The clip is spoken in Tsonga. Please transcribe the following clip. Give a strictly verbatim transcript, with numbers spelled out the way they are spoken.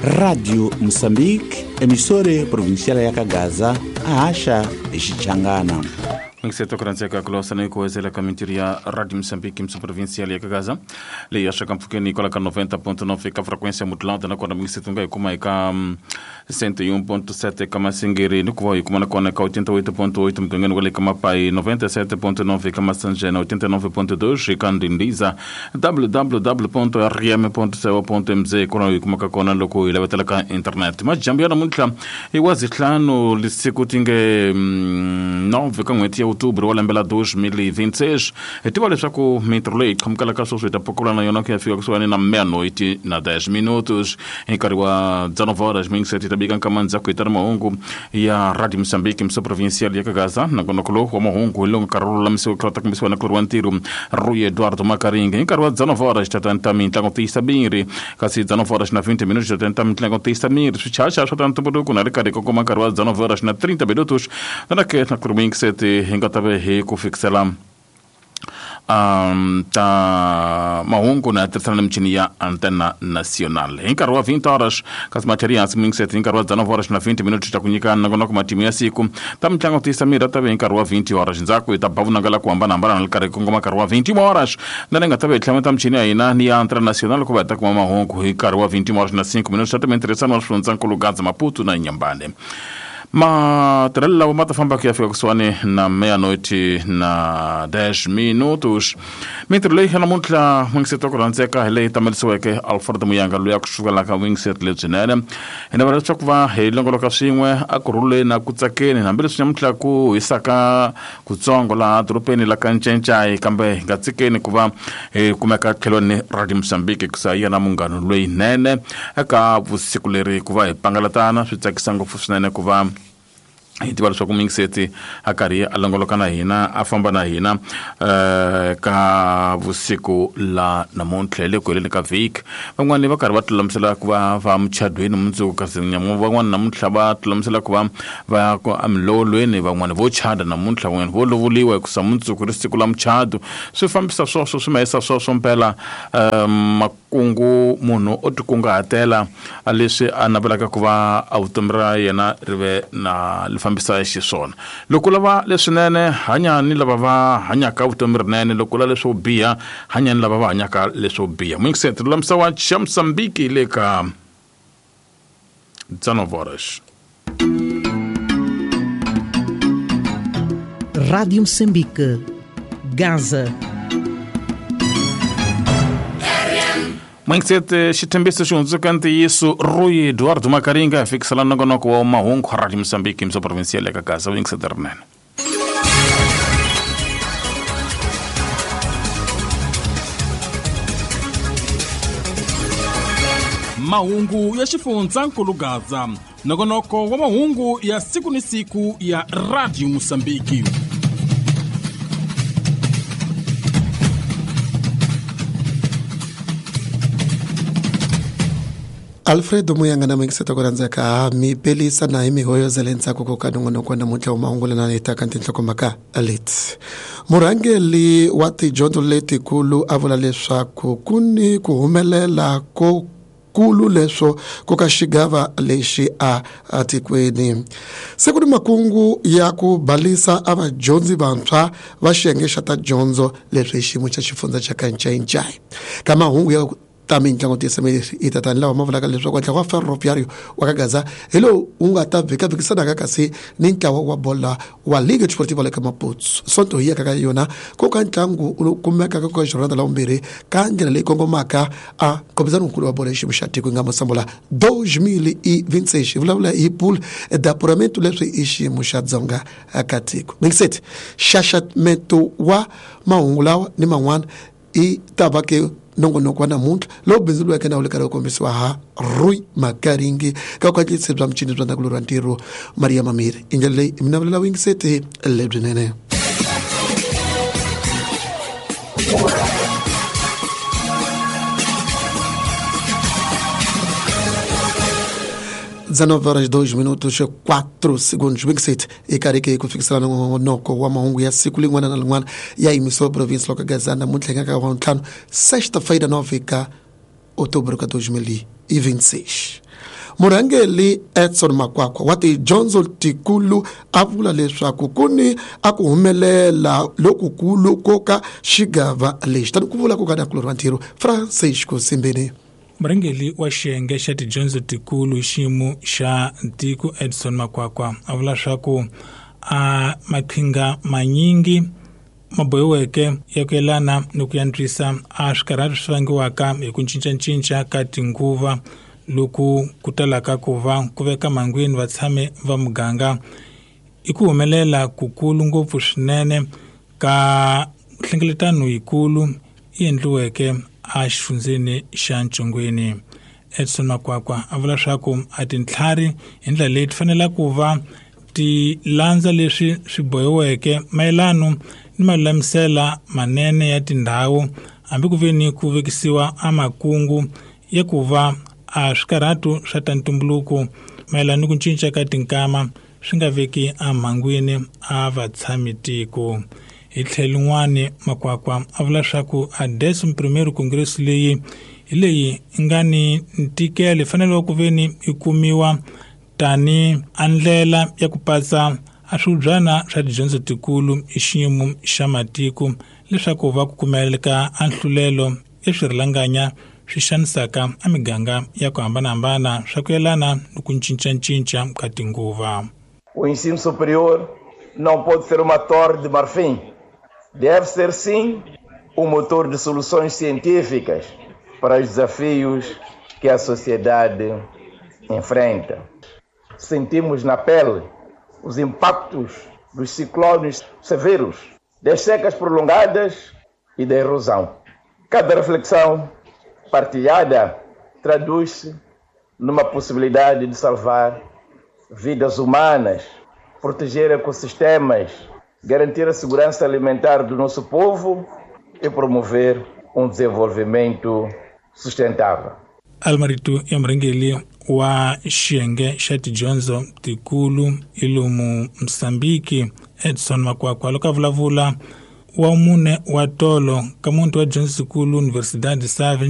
Rádio Moçambique, emissora provincial ya Kagaza, a Acha e Xichangana. Ngiseto kuranzeka kulosana ikuwezela kamintiri ya Radio Moçambique mso provincial ya Kagaza. Leyi ya shaka mfukeni kola ka noventa ponto nove ka frequência modulada na kona mngiseto nga ikuma eka cento e um ponto sete ka Masingiri nikuva ikuma na kona ka oitenta e oito ponto oito mgangeni wale ka Mapai noventa e sete ponto nove ka Massanjena oitenta e nove ponto dois ka Ndindiza w w w ponto r m ponto co ponto m z kona ikuma ka kona loko ilavetela ka internet. Majambo ya namuntlha iwazi hlanu lisiku tinge nove ka n'hweti ya outubro wa lembe la dois mil e vinte e seis. Tiva leswaku mintirho leyi qhamukelaka sweswi hi ta pokula na yona ku ya fika kusuhani na meia-noite na dez minutos hi nkarhi wa dezenove horas mingiseti ta bika nkama ndzhaku hi ta ri mahungu ya Radio Moçambique mso provincial ya Kagaza. Nongonoko lowu wa mahungu hi lowu nkarhi wu lulamisiwa ku ta kombisiwa na kulori wa ntirho Rui Eduardo Makaringa. Hi nkarhi wa dezenove horas ta ta mintlango tiyisa miri kasi dezenove horas na vinte minutos ta ta mintlango tiyisa miri swichacha swa ta ntumbuluko na ri karhi kongoma nkarhi wa dezenove horas na trinta minutos na ke na kulori mingiseti hi nga ta ve hi ku fikisela um, ta mahungu na tirhisana na michini ya Antena Nacional. Hi nkarhi wa vinte horas kasi matheri hansi mingiseti hi nkarhi wa dezenove horas na vinte minutos ta ku nyika nongonoko matimu ya siku ta mitlango tiyisa miri ta ve hi nkarhi wa vinte horas ndzhaku hi ta ba vunanga la ku hambanahambana na ri karhi kongoma nkarhi wa vinte e uma horas na ni nga ta ve hi tlhameta michini ya hina ni ya Antena Nacional ku va hi ta kuma mahungu hi nkarhi wa vinte e uma horas na cinco minutos ta timintirhisano wa swifundzakulu Gaza Maputo na Inhambane. Matirhelo lawa ma ta famba ku ya fika kusuhani na meia-noite na dez minutos. Mintirho leyi namuntlha Wingset ku rhandzeka hi leyi tamelisiweke Alfred Muyanga loyi a ku sukelaka Wingset lebyinene. Hi navela leswaku va hi longoloka swin'we a ku rhuleni na ku tsakeni hambileswi namuntlha ku hisaka kutsongo laha dorobeni la ka Ncencai, kambe hi nga tsikeni ku va hi kumeka tlhelweni Radio Moçambique ku sa yena munghano lowunene eka vusiku leri ku va hi pangalatana. Swi tsakisa ngopfu swinene ku va hi tiva leswaku mingiseti a karhi a longoloka na hina a famba na hina eh ka vusiku la namuntlha le ku heleni ka vhiki. Van'wani va karhi va tilulamisela ku va va muchadweni mundzuku kasi van'wani namuntlha va tilulamisela ku va va ya ku emilolweni, van'wani vo chada namuntlha, van'wani vo lovoliwa hikusa mundzuku ri siku la muchado. Swi fambisa swoswo swi mahisa swoswo mpela makungu munhu o tikunguhatela leswi a navelaka ku va a vutomi ra yena ri ve na fambisa xiswona. Loko lava leswinene hanya ni lava va hanyaka vutomi rinene, loko lava leswo biha hanya ni lava va hanyaka leswo biha. Mingiseti lulamisa wa Moçambique le ka dezenove horas. Rádio Moçambique, Gaza. Mingiseti xithembiso xi hundzuka ntiyiso Rui Eduardo Makaringa fikisela nongonoko wa mahungu Radio Moçambique mso provincial ya Gaza. Mingiseti rinene. Mahungu ya xifundzankulu Gaza, nongonoko wa mahungu ya siku ni siku ya Radio Moçambique. Alfredo Muyanga na mingiseta ku rhandzeka mi pelisa na hi mihoyozele ntsako ko ka nongonoko namuntlha wa mahungu lena hi taka tinhlokomhaka leti. Murhangeri wa tidyondzo letikulu a vula leswaku ku ni ku humelela ko kulu leswo ku ka xigava lexi a atikweni. Se ku ni makungu ya ku balisa a vadyondzi vantshwa va xiyenge xa ta dyondzo leswi hi xiyimo xa xifundza xa ka Ncayincai. Ka mahungu ya ta mintlango tiyisa i tatani lawa ma vulaka leswaku ntlawa wa Ferroviário wa ka Gaza hi lowu wu nga ta vhikavhikisanaka kasi ni ntlawa wa bola wa Liga Desportiva le ka Maputo. Sonto hi yaka ka yona ku ka ntlangu lowu kumekaka ka jornada la vumbirhi ka ndlela leyi kongomaka a nkombisano nkulu wa bola hi xiyimo xa tiko yi nga Mosambola dois mil e vinte e seis. Hi vulavula hi pool d'apuramento leswi i xiyimo xa Dzonga ka tiko. Mingiseti xaxamento wa mahungu lawa ni man'wana i ta va ke nongonoko wa namuntlha lowu bindzuriweke na wu le karhi wu kombisiwa ha Rui Makaringi ka kwatlisi bya michini bya ndzhaku wa ntirho Maria Mamiri. I ndlela leyi mi navelela vuyingiseti lebyinene. dezenove horas dois minutos quatro segundos. Big e karike ku fikisela nongonoko wa mahungu ya siku lin'wana na lin'wana ya emissora província loka Gaza namuntlha hi nga ka wa ntlhanu sexta-feira nove ka outubro ka dois mil e vinte e seis. Murhangeri Edson Makwakwa wa tidyondzo tikulu a vula leswaku ku ni a ku humelela lokukulu ko ka xigava lexi tani ku vula ku ka nakulorhi wa ntirho Francisco Simbeni. Murhangeri wa xiyenge xa tidyondzo tikulu hi xiyimo xa tiko Edson Makwakwa a vula swa ku a maqhinga manyingi ma bohiweke ya ku yelana ni ku antswisa a swikarhati swi vangiwaka hi ku cincacinca ka tinguva loku ku talaka ku va ku veka mangwini vatshami va muganga i ku humelela kukulu ngopfu swinene ka nhlengeletano yikulu yi endliweke a xifundzeni xa Ntshongweni. Edson Makwakwa a vula swa ku a tintlhari hi ndlela leyi ti fanele ku va ti landza leswi swi bohiweke mayelano ni malulamisela manene ya tindhawu hambi ku ve ni ku vekisiwa a makungu ya ku va a swikarhatu swa ta ntumbuluko mayelana ni ku cinca ka tinkama swi nga veki emhangwini a vatshami tiko. Hi tlhelo rin'wani Makwakwa a vula swa ku a décimo primeiro congresso leyi hi leyi nga ni ntikelo yi fanele ku ve ni yi kumiwa tani a ndlela ya ku patsa a swibyana swa tidyondzo tikulu hi xiyimo xa matiko leswaku va ku kumeleka a nhlulelo ya swirhalanganya swi xanisaka a miganga ya ku hambanahambana swa ku yelana ni ku cincacinca ka tinguva. O ensino superior não pode ser uma torre de marfim. Deve ser, sim, um motor de soluções científicas para os desafios que a sociedade enfrenta. Sentimos na pele os impactos dos ciclones severos, das secas prolongadas e da erosão. Cada reflexão partilhada traduz-se numa possibilidade de salvar vidas humanas, proteger ecossistemas, garantir a segurança alimentar do nosso povo e promover um desenvolvimento sustentável. Almarito ya murhangeri wa xiyenge xa tidyondzo tikulu ilomu Mozambique Edson Makwakwa loko a vulavula wa mune wa tolo ka muti wa dyondzo tikulu Universidade Save.